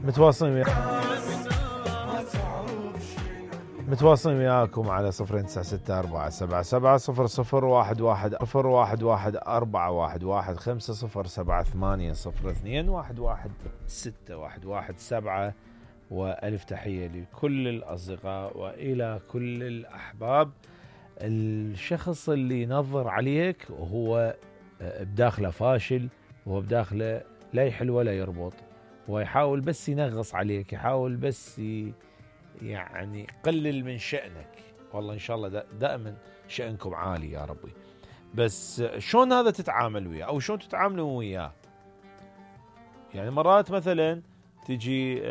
متواصلين وياكم على 0964770011 011-411-507-8-021-611-7 وألف تحية لكل الأصدقاء وإلى كل الأحباب. الشخص اللي ينظر عليك وهو بداخله فاشل وهو بداخله لا يحل ولا يربط ويحاول بس ينغص عليك، يحاول بس يعني قلل من شأنك. والله إن شاء الله دائما شأنكم عالي يا ربي. بس شلون هذا تتعامل وياه أو شلون تتعاملوا وياه؟ يعني مرات مثلا تجي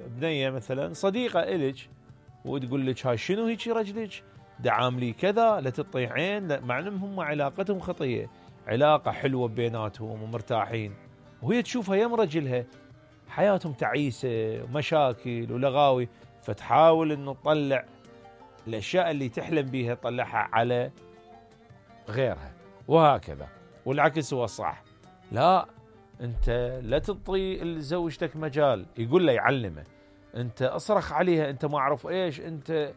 بنية مثلا صديقة إلك وتقول لك هاي شنو هيك رجلك دعاملي كذا لا تطيعين، مع انهم هم علاقتهم خطية، علاقة حلوة بيناتهم ومرتاحين، وهي تشوفها يم رجلها حياتهم تعيسة ومشاكل ولغاوي، فتحاول انه تطلع الاشياء اللي تحلم بيها تطلعها على غيرها وهكذا. والعكس هو الصح. لا، انت لا تعطي لزوجتك مجال، يقول له يعلمه، انت اصرخ عليها، انت ما اعرف ايش، انت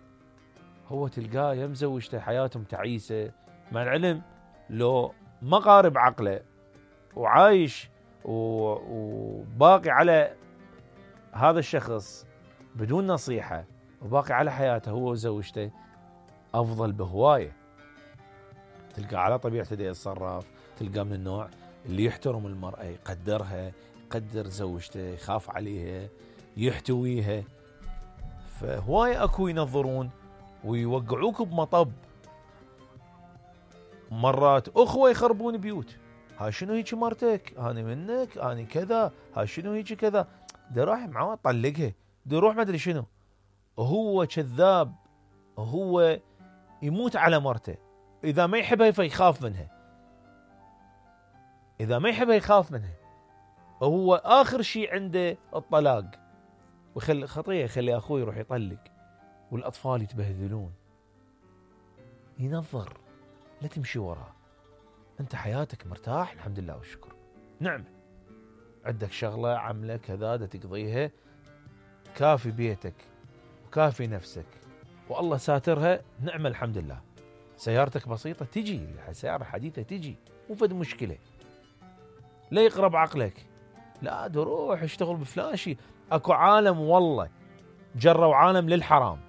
هو تلقاه يم زوجته حياتهم تعيسة، مع العلم لو ما قارب عقله وعايش وباقي على هذا الشخص بدون نصيحة وباقي على حياته هو وزوجته أفضل بهواية. تلقى على طبيعته دي يتصرف، تلقى من النوع اللي يحترم المرأة، يقدرها، يقدر زوجته، يخاف عليها، يحتويها. فهواية أكو ينظرون ويوقعوك بمطب. مرات أخوة يخربون بيوت، ها شنو هيك مرتك، أنا منك، أنا كذا، ها شنو هيك كذا، ده راح معاه طلقها، ده روح ما أدري شنو، وهو كذاب، وهو يموت على مرته. إذا ما يحبها فيخاف منها، إذا ما يحبها يخاف منها، وهو آخر شيء عنده الطلاق، ويخلي خطية، يخلي أخوه يروح يطلق والأطفال يتبهذلون. ينظر، لا تمشي وراه، أنت حياتك مرتاح الحمد لله والشكر، نعم، عندك شغلة عملة كذا دا تقضيها، كافي بيتك وكافي نفسك والله ساترها، نعم الحمد لله. سيارتك بسيطة تجي، سيارة حديثة تجي، مو فد مشكلة. لا يقرب عقلك، لا روح اشتغل بفلاشي. اكو عالم والله جروا عالم للحرام.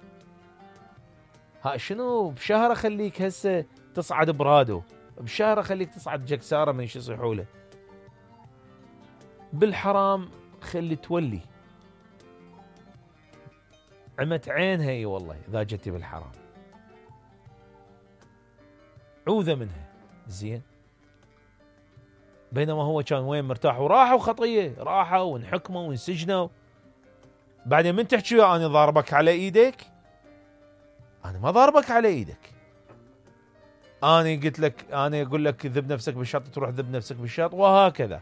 ها شنو بشهر اخليك هسه تصعد برادو، بشهر اخليك تصعد جكسارة من شو يصيحوا له، بالحرام خلي تولي عمت عينها. اي والله اذا جتي بالحرام عوذة منها، زين. بينما هو كان وين مرتاح، وراحوا خطية، راحوا وانحكموا وانسجنوا. بعدين من تحكي يا انا ضاربك على ايدك، انا ما ضاربك على ايدك، انا قلت لك، انا اقول لك ذب نفسك بالشط تروح ذب نفسك بالشط، وهكذا.